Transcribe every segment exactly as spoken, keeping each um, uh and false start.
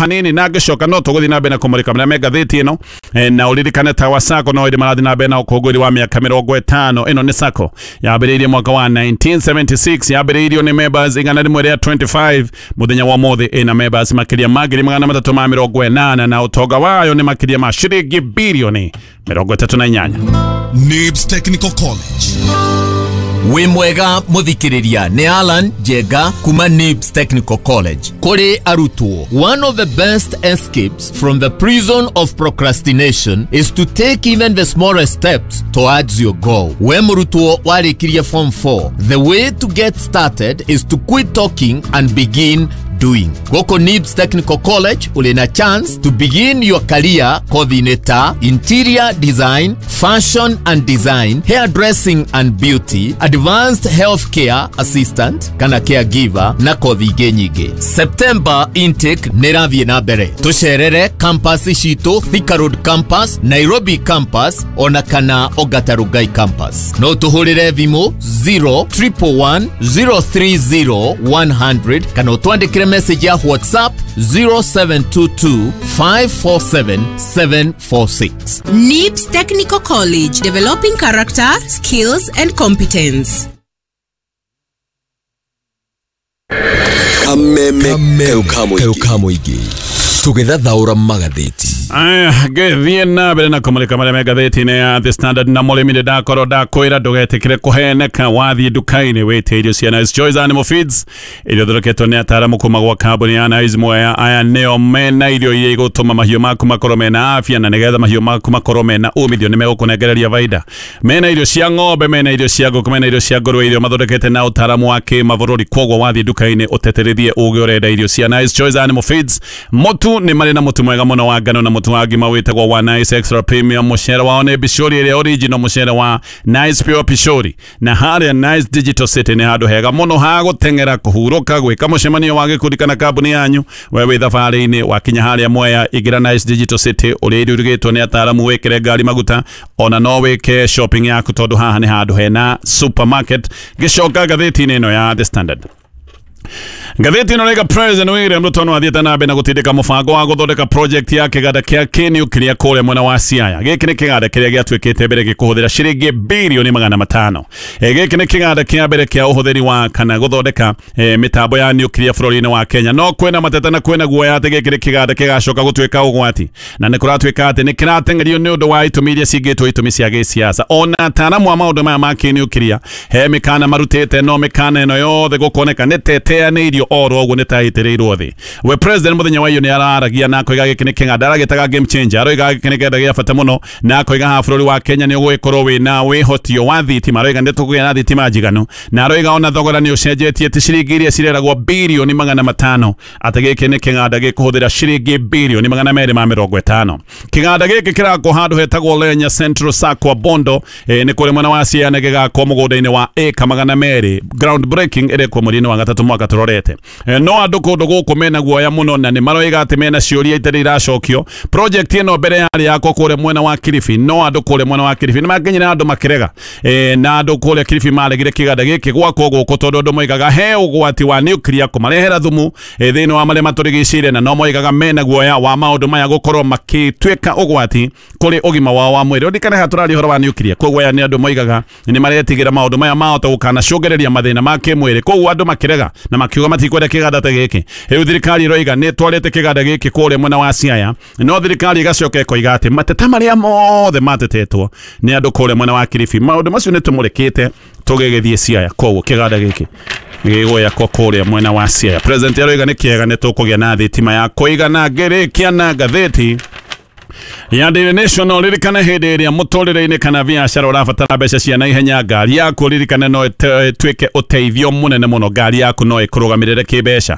hanini na ngĩcoka no tũgũthiĩ na mbere na kũmũrĩka marĩa me ngathĩti ĩno. eh, na ũririkane Tawa Sacco no ĩrĩ marathiĩ na mbere na ũkũngũĩri wa mĩaka mĩrongo ĩtano. Ĩno nĩ Sacco yambĩrĩirie mwaka wa nineteen seventy-six, yambĩrĩirio nĩ members igana rĩmwe rĩa twenty-five. Mũthenya wa ũmũthĩ ĩna members makĩria ma ngiri magana matatũ ma mĩrongo ĩnana na ũtonga wayo nĩ makĩria ma ciringi bilioni mĩrongo ĩtatũ na inyanya. Nibs Technical College. Wĩ mwega mũthikĩrĩria, nĩ Alan Njenga kuma Nibs Technical College. Kũrĩ arutwo, one of the best escapes from the prison of procrastination is to take even the smallest steps towards your goal. We mũrutwo warĩkirie form four, the way to get started is to quit talking and begin doing. Gũkũ Nibs Technical College ũrĩ na chance to begin your career kothi-inĩ ta interior design, fashion and design, hairdressing and beauty, advanced healthcare assistant kana caregiver na kothi ingĩ nyingĩ. September intake nĩ ĩrathiĩ na mbere. Tũcerere campus citũ, Thika Road campus, Nairobi campus ona kana Ongata Rongai campus. No tũhũrĩre thimũ zero triple one zero three zero one hundred kana ũtwandĩkĩre message ya WhatsApp zero seven two two five four seven seven four six. Nibs Technical College, developing character, skills and competence. Kameme Kaukamuigi tugithathaura magatheti. Aya, ngĩthiĩ na mbere na kũmũrĩka marĩa me ngathĩti-inĩ ya The Standard. Na mũrĩmi nĩ ndakorwo ndakwĩra ndũgetĩkĩre kũheneka wathiĩ nduka-inĩ wĩte irio cia Nice Choice Animal Feeds iria ithondeketwo nĩ ataaramu kuma gwa kambuni ya Nice Mwea. Aya nĩo mena irio iria igũtũma mahiũ maku makorwo mena afya na nĩgetha mahiũ maku makorwo mena umithio nĩ megũkũnengereria baida. Mena irio cia ng'ombe, mena irio cia ngũkũ, mena irio cia ngũrwe, irio mathondekete na ũtaaramu wa kĩmabũrũri. Kwoguo wathiĩ nduka-inĩ ũteterithie ũge ũrenda irio cia Nice Choice Animal Feeds. Mũtu nĩ marĩ na mũtu mwega mũno wa ngano na mũtu wa ngima wĩtagwo wa Nice Extra Premium. Mũcere wao nĩ Pishori ĩrĩa original, mũcere wa Nice Pure Pishori. Na harĩa Nice Digital City nĩ handũ hega mũno ha gũteng'era, kũhurũka, gwĩka mũcemanio wa gĩkundi kana kambuni yanyu. We wĩ thabarĩ-inĩ wakinya harĩa Mwea, ingĩra Nice Digital City ũrĩa irio irugĩtwo nĩ ataaramu, wĩkĩre ngari maguta ona no wĩke shopping yaku tondũ haha nĩ handũ hena supermarket. Gĩcoka ngathĩti-inĩ ĩno ya The Standard. Ngathĩti ĩno rĩga President William Ruto no athiĩte na mbere na gũtindĩka mũbango wa gũthondeka project ya kĩganda kĩa kĩnuclear kũrĩa mwena wa Siaya. Gĩkĩ nĩ kĩganda kĩrĩa gĩatuĩkĩte mbere gĩkũhũthĩra ciringi bilioni magana matano. E, gĩkĩ nĩ kĩganda kĩa mbere kĩa ũhũthĩri wa kana gũthondeka e, mĩtambo ya nuclear bũrũri-inĩ wa Kenya. No kwĩna mateta na kwĩna guoya atĩ gĩkĩ nĩ kĩganda gĩgacoka gũtuĩka ũgwati, na nĩ kũratuĩka atĩ nĩ kĩrateng'erio nĩ ũndũ wa itũmi iria cingĩtwo itũmi cia gĩsiasa. Ona ataaramu a maũndũ maya ma kĩnuclear he mĩkana marutĩte, no mĩkana ĩno yothe gũkoneka nĩ teteanĩirio oro ũguo nĩ taitĩrĩirwo thĩ. We president mũthenya wa iyo nĩ araragia na akoiga gĩkĩ nĩ kĩganda aragĩtaga game changer, aroiga gĩkĩ nĩ kĩganda gĩa bata mũno, na akoiga haha bũrũri wa Kenya nĩ ũgũgĩkorwo wĩna wĩhotio wa thitima, aroiga nĩ tũkũgĩa na thitima njiganu, na aroiga ona thogora nĩ ũcenjetie ti ciringi iria cireragwo bilioni magana matano, atĩ gĩkĩ nĩ kĩganda gĩkũhũthĩra ciringi bilioni magana merĩ ma mĩrongo ĩtano. Kĩganda gĩkĩ kĩrakwo handũ hetagwo Lenya Central Sacco Bondo, e, nĩ kũrĩ mwena wa Siaya, na gĩgakwo mũgũnda-inĩ wa ĩka magana merĩ. Ground breaking ĩrekwo mweri-inĩ wa gatatũ mwaka tũrorete. E, no andũ kũndũ gũkũ mena guoya mũno na nĩ maroiga atĩ mena ciũria itarĩ iracokio. Project ĩno mbere yarĩ yakwo kũrĩa mwena wa Kilifi, no andũ kũrĩa mwena wa Kilifi nĩ makinyire andũ makĩrega, e, na andũ kũrĩa Kilifi maregire kĩganda gĩkĩ gwakwo gũkũ tondũ andũ moigaga he ũgwati wa nuclear kũmarehera thumu e, thĩinĩ wa marĩa matũrigicĩirie, na no moigaga mena guoya wa maũndũ maya gũkorwo makĩtuĩka ũgwati kũrĩ ũgima wao wa mwĩrĩ. Ũririkane haha tũraria ũhoro wa nuclear, koguo aya nĩ andũ moigaga nĩ maretigĩra maũndũ maya mahota gũkanacũngĩrĩria mathĩna ma kĩmwĩrĩ, koguo andũ makĩrega na makiuga matikwenda kĩganda ta gĩkĩ. Rĩu thirikari ĩroiga nĩ ĩtwarĩte kĩganda gĩkĩ kũrĩa mwena wa Siaya, no thirikari ĩgacoka ĩkoiga atĩ mateta marĩa mothe matetetwo nĩ andũ kũrĩa mwena wa Kilifi, maũndũ macio nĩ tũmũrĩkĩte tũgĩgĩthiĩ Siaya. Koguo kĩganda gĩkĩ gĩgwakwo kũrĩa mwena wa Siaya. President aroiga nĩ kĩega nĩ tũkũgĩa na thitima ya kũigana. Ngĩrĩkia na ngathĩti ya Daily Nation, ririkana hĩndĩ ĩrĩa mũtũrĩre-inĩ kana biacara ũrabatara mbeca cia naihenya, ngari yaku ririkane no ĩtuĩke ũteithio mũnene mũno. Ngari yaku no ĩkũrũgamĩrĩre kĩmbeca.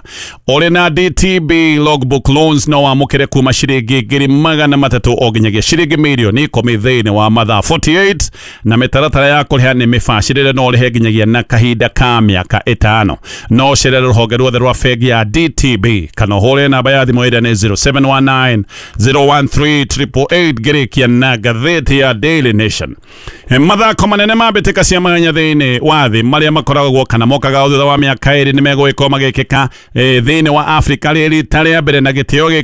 Ũrĩ na D T B logbook loans no wamũkĩre kuma ciringi ngiri magana matatũ o nginyagia ciringi mirioni ikũmi thĩinĩ wa mathaa forty-eight, na mĩtaratara ya kũrĩha nĩ mĩbacĩrĩre, no ũrĩhe nginyagia na kahinda ka mĩaka ĩtano. No ũcerere rũhonge ruothe rwa bengi ya D T B kana ũhũre namba ya thimũ ĩrĩa nĩ zero seven one nine zero one three triple eight. Ngĩrĩkia na ngathĩti ya Daily Nation. Mathako manene ma mbĩtĩka cia mahenya thĩinĩ wa thĩ marĩa makoragwo kana mokaga thutha wa mĩaka ĩrĩ nĩ megũgĩkorwo magĩkĩka thĩinĩ wa Afrika rĩ rita rĩa mbere, na gĩtĩo gĩkĩ